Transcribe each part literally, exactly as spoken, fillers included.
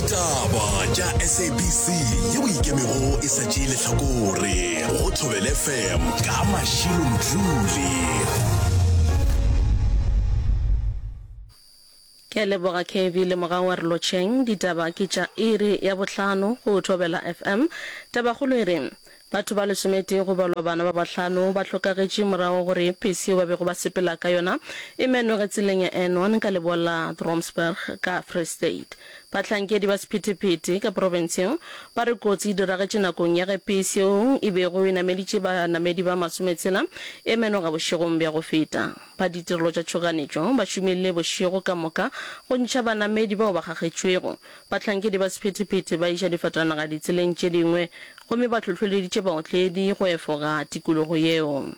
Ditaba tša S A B C yeo e ikemego e sa tšee lehlakore go Thobela F M ka Mashilo Mdluli. Ke a leboga K V le Mogau wa re lotšheng. Ditaba ke tša iri ya bohlano go Thobela F M. Tabakgolo e re, Batho ba lesometee go balwa bana ba bahlano ba hlokagetše morago gore pese yeo ba bego ba sepela ka yona e menoge tseleng ya N one ka leboa la Trompsburg ka Free State. Bahlankedi ba sephethephethe ka profense yeo ba re kotsi e diragetše nakong ya ge pese yeo e bego e nameditše banamedi ba masometshela e menoga bošegong bja go feta. Ba ditirelo tša tšhoganetšo ba šomile bošego ka moka go ntšha banamedi bao ba kgakgetšwego. Bahlankedi ba sephethephethe ba iša difatanaga ditseleng tše dingwe gomme ba hlohleleditše baotledi go efoga tikologo yeo.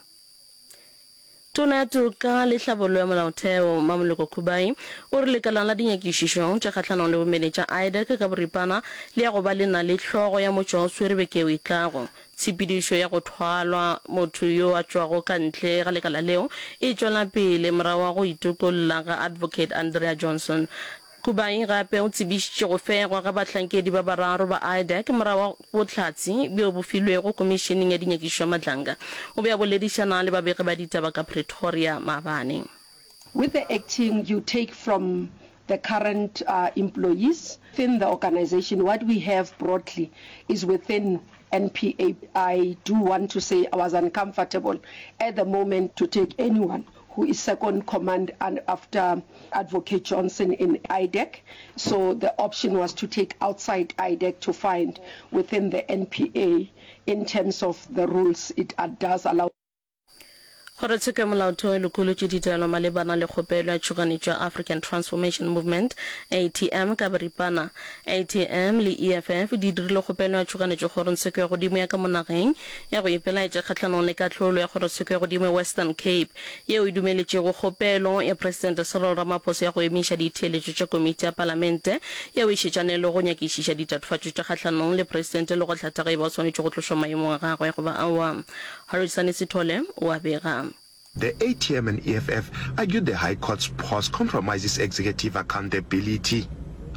Tona ya Toka le Tlhabollo ya Molaotheo, Mmamoloko Kubayi, o re lekala la dinyakišišo tša kgahlanong le bomenetša, IDAC ka boripana, le ya go ba le na le hlogo ya motšwaoswere beke yeo e tlago. Tshepedišo ya go thwalwa motho yo a tšwago ka ntle ga lekala leo e tšwela pele morago ga go itokolla ga Advocate Andrea Johnson. Kubayi gape o tsebišitše go fegwa ga bahlankedi ba bararo ba IDAC morago ga bohlatse bjo bo filwego Komišeneng ya Dinyakišišo ya Madlanga. O be a boledišana le babegi ba ditaba ka Pretoria maabane. With the acting you take from the current employees within the organisation, what we have broadly is within N P A. I do want to say I was uncomfortable at the moment to take anyone who is second command and after Advocate Johnson in I D E C. So the option was to take outside I D E C to find within the N P A in terms of the rules it does allow. Kgorotsheko ya Molaotheo e lokolotše ditaelo malebana le kgopelo ya tšhoganetšo ya African Transformation Movement, A T M, ka boripana. A T M le E F F di dirile kgopelo ya tšhoganetšo kgorongtsheko ya godimo ya ka mo nageng ya go ipelaetša kgahlanong le kahlolo ya kgorotsheko ya godimo ya Western Cape yeo e dumeletšego kgopelo ya Presidente Cyril Ramaphosa ya go emiša ditheeletšo tša komiti ya palamente yeo e šetšane le go nyakišiša ditatofatšo tša kgahlanong le Presidente le go hlatha ge e ba o swanetše go tlošwa maemong a gagwe goba aowa. Harrison Sithole o a bega. The A T M and E F F argued the High Court's pause compromises executive accountability.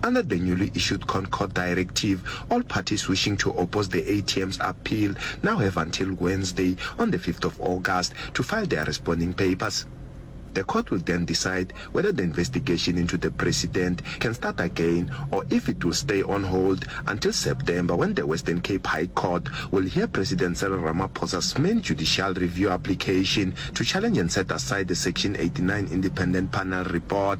Under the newly issued Concord directive, all parties wishing to oppose the A T M's appeal now have until Wednesday on the fifth of August to file their responding papers. The court will then decide whether the investigation into the president can start again or if it will stay on hold until September when the Western Cape High Court will hear President Cyril Ramaphosa's main judicial review application to challenge and set aside the Section eighty-nine Independent Panel report.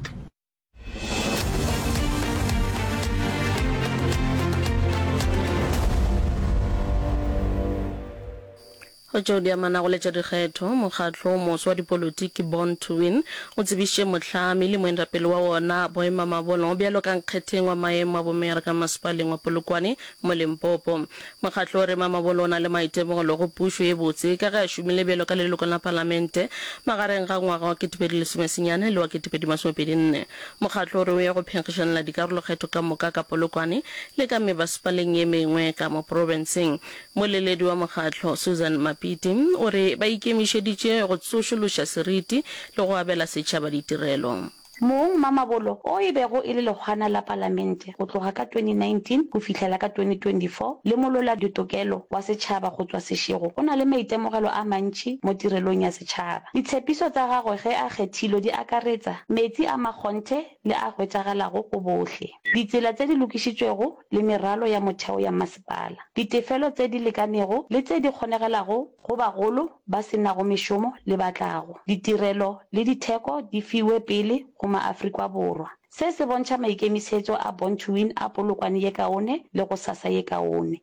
Go tšeo di amanago le tša dikgetho, mokgatlo o moswa wa dipolotiki Born to Win o tsebišitše mohlami le moetapele wa wona Boy Mamabolo bjalo ka nkgetheng wa maemo a bomeyara ka masepaleng wa Polokwane mo Limpopo. Mokgatlo o re Mamabolo o na le maitemogelo go pušo ye botse ka ge a šomile bjalo ka leloko la palamente magareng ga ngwaga wa ketepedi lesomesenyane le wa ketepedi masomepedi nne. Mokgatlo o re o ya go phenkgišanela dikarolokgetho ka moka ka Polokwane le ka mebasepaleng ye mengwe ka mo profenseng. Mmoleledi wa mokgatlo, Susan Mapiti, o re ba ikemišeditše go tsošološa seriti le go abela setšhaba ditirelo. Mong Mamabolo, o e bego e le lehwana la palamente go tloga ka twenty nineteen go fihlela ka twenty twenty four le molweladitokelo wa setšhaba go tšwa Seshego, o na le maitemogelo a mantši mo tirelong ya setšhaba. Ditshepišo tša gagwe ge a kgethilwe di akaretsa, metsi a makgonthe le a hwetšagalago go bohle, ditsela tše di lokišitšwego le meralo ya motheo ya masepala, ditefelo tše di lekanego le tše di kgonegelago go bagolo ba se nago mešomo le ba tlago, ditirelo le ditheko di fiwe pele go maAfrikwa Borwa. Se se bontšha maikemišetšo a Born to Win a Polokwane ye kaone le gosasa ye kaone.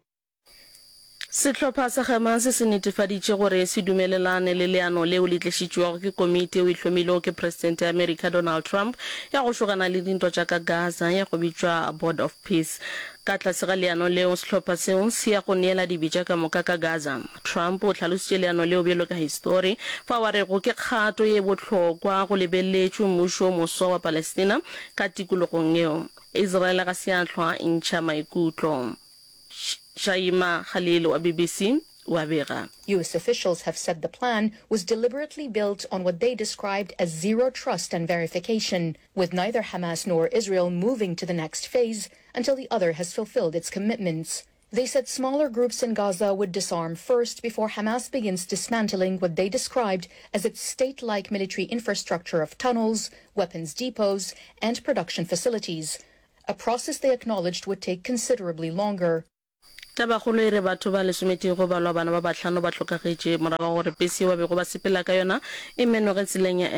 Sehlopha sa Hamas se netefaditše gore se dumelelane le leano leo le tlišitšwego ke komiti yeo e hlomilwego ke Presidente ya Amerika Donald Trump ya go šogana le dintwa tša ka Gaza ya go bitšwa Board of Peace. Ka tlase ga leano leo, sehlopha seo se ya go neela dibetša ka moka ka Gaza. Trump o hlalositše leano leo bjalo ka histori, fao a rego ke kgato ye bohlokwa go lebeletšwe mmušo o moswa wa Palestina ka tikologong yeo. Israel ga se ya hlwa e ntšha maikutlo. Shaima Khalil wa B B C o a bega. US officials have said the plan was deliberately built on what they described as zero trust and verification, with neither Hamas nor Israel moving to the next phase until the other has fulfilled its commitments. They said smaller groups in Gaza would disarm first before Hamas begins dismantling what they described as its state-like military infrastructure of tunnels, weapons depots, and production facilities, a process they acknowledged would take considerably longer. Tabakgolo e re batho ba lesometee go balwa bana ba bahlano ba hlokagetše morago ga gore pese yeo ba bego ba sepela ka yona e menoge tseleng ya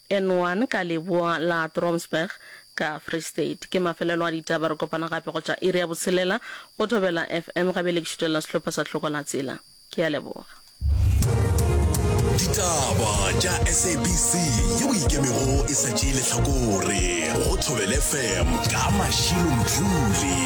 N one ka leboa la Trompsburg ka Free State. Ke mafelelo a ditaba, re kopana gape go tša iri ya botshelela go Thobela F M. Ga bjale ke šutelela sehlopha sa Hloko la Tsela. Ke a leboga. Ditaba tša S A B C yeo e ikemego e sa tšee lehlakore go Thobela F M ka Mashilo Mdluli.